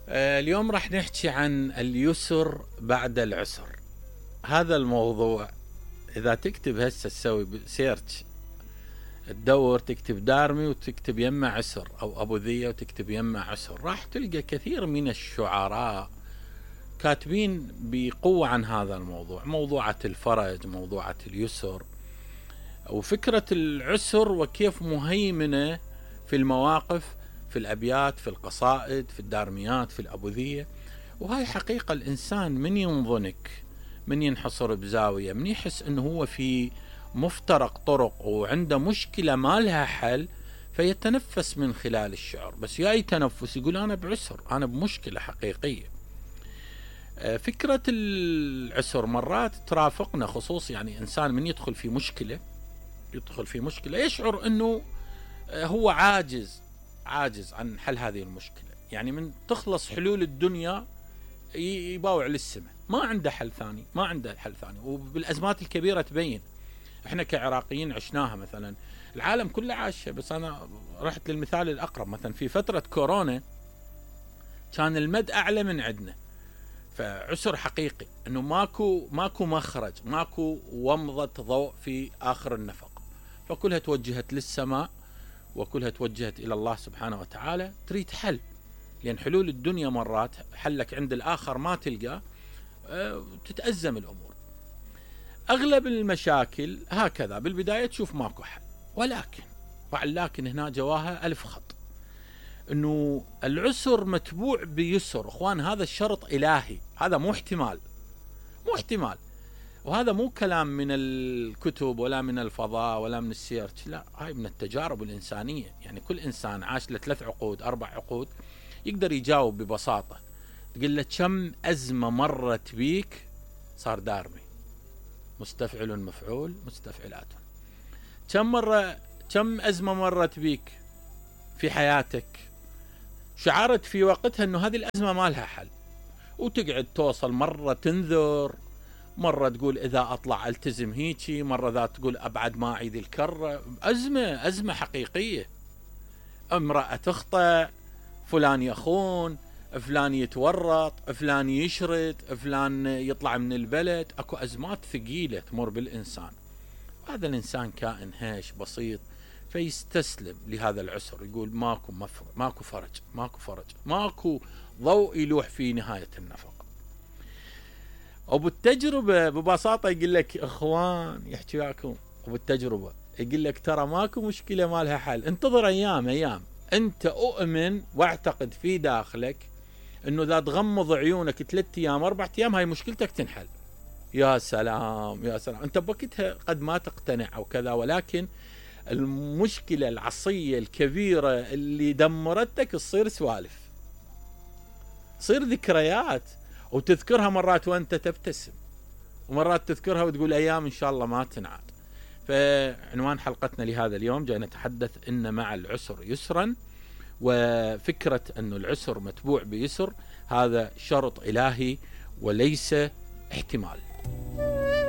اليوم راح نحكي عن اليسر بعد العسر. هذا الموضوع إذا تكتب هسه تسوي سيرش، تدور تكتب دارمي وتكتب يمه عسر أو أبو ذية وتكتب يمه عسر، راح تلقى كثير من الشعراء كاتبين بقوة عن هذا الموضوع، موضوعة الفرج، موضوعة اليسر، وفكرة العسر وكيف مهيمنة في المواقف، في الأبيات، في القصائد، في الدارميات، في الأبوذية. وهاي حقيقة الإنسان من ينضنك، من ينحصر بزاوية، من يحس أنه هو في مفترق طرق وعنده مشكلة ما لها حل، فيتنفس من خلال الشعر. بس ياي تنفس يقول أنا بعسر، أنا بمشكلة حقيقية. فكرة العسر مرات ترافقنا، خصوص يعني إنسان من يدخل في مشكلة يشعر أنه هو عاجز عن حل هذه المشكلة. يعني من تخلص حلول الدنيا يباوع للسماء، ما عنده حل ثاني. وبالأزمات الكبيرة تبين، احنا كعراقيين عشناها، مثلا العالم كله عاشه، بس انا رحت للمثال الاقرب. مثلا في فترة كورونا كان المد اعلى من عندنا، فعسر حقيقي، انه ماكو مخرج، ماكو ومضة ضوء في اخر النفق، فكلها توجهت للسماء وكلها توجهت الى الله سبحانه وتعالى، تريد حل. لان حلول الدنيا مرات حلك عند الاخر ما تلقى، تتأزم الامور. اغلب المشاكل هكذا بالبداية تشوف ماكو حل، ولكن هنا جواها الف خط، انه العسر متبوع بيسر. اخوان، هذا الشرط الهي، هذا مو احتمال. وهذا مو كلام من الكتب ولا من الفضاء ولا من السيرش، لا، هاي من التجارب الإنسانية. يعني كل إنسان عاش له 3 عقود 4 عقود يقدر يجاوب ببساطة. تقول له كم أزمة مرت بيك، صار دارمي، مستفعل مفعول مستفعلات. كم أزمة مرت بيك في حياتك، شعرت في وقتها أنه هذه الأزمة ما لها حل، وتقعد توصل مرة تنذر، مرة تقول إذا أطلع ألتزم هيجي، مرة ذات تقول أبعد ما أعيد الكرة. أزمة حقيقية. امرأة تخطئ، فلان يخون، فلان يتورط، فلان يشرد، فلان يطلع من البلد. أكو أزمات ثقيلة تمر بالإنسان. هذا الإنسان كائن هاش بسيط، فيستسلم لهذا العسر، يقول ماكو فرج، ماكو ضوء يلوح في نهاية النفق. وبالتجربة ببساطة يقول لك اخوان، يحكي وياكم وبالتجربة يقول لك ترى ماكو مشكلة ما لها حل، انتظر ايام. انت اؤمن واعتقد في داخلك انه اذا تغمض عيونك 3 ايام 4 ايام هاي مشكلتك تنحل. يا سلام. انت بوقتها قد ما تقتنع او كذا، ولكن المشكلة العصية الكبيرة اللي دمرتك تصير سوالف، تصير ذكريات، وتذكرها مرات وانت تبتسم، ومرات تذكرها وتقول ايام ان شاء الله ما تنعاد. فعنوان حلقتنا لهذا اليوم جاي نتحدث ان مع العسر يسرا، وفكرة ان العسر متبوع بيسر هذا شرط الهي وليس احتمال.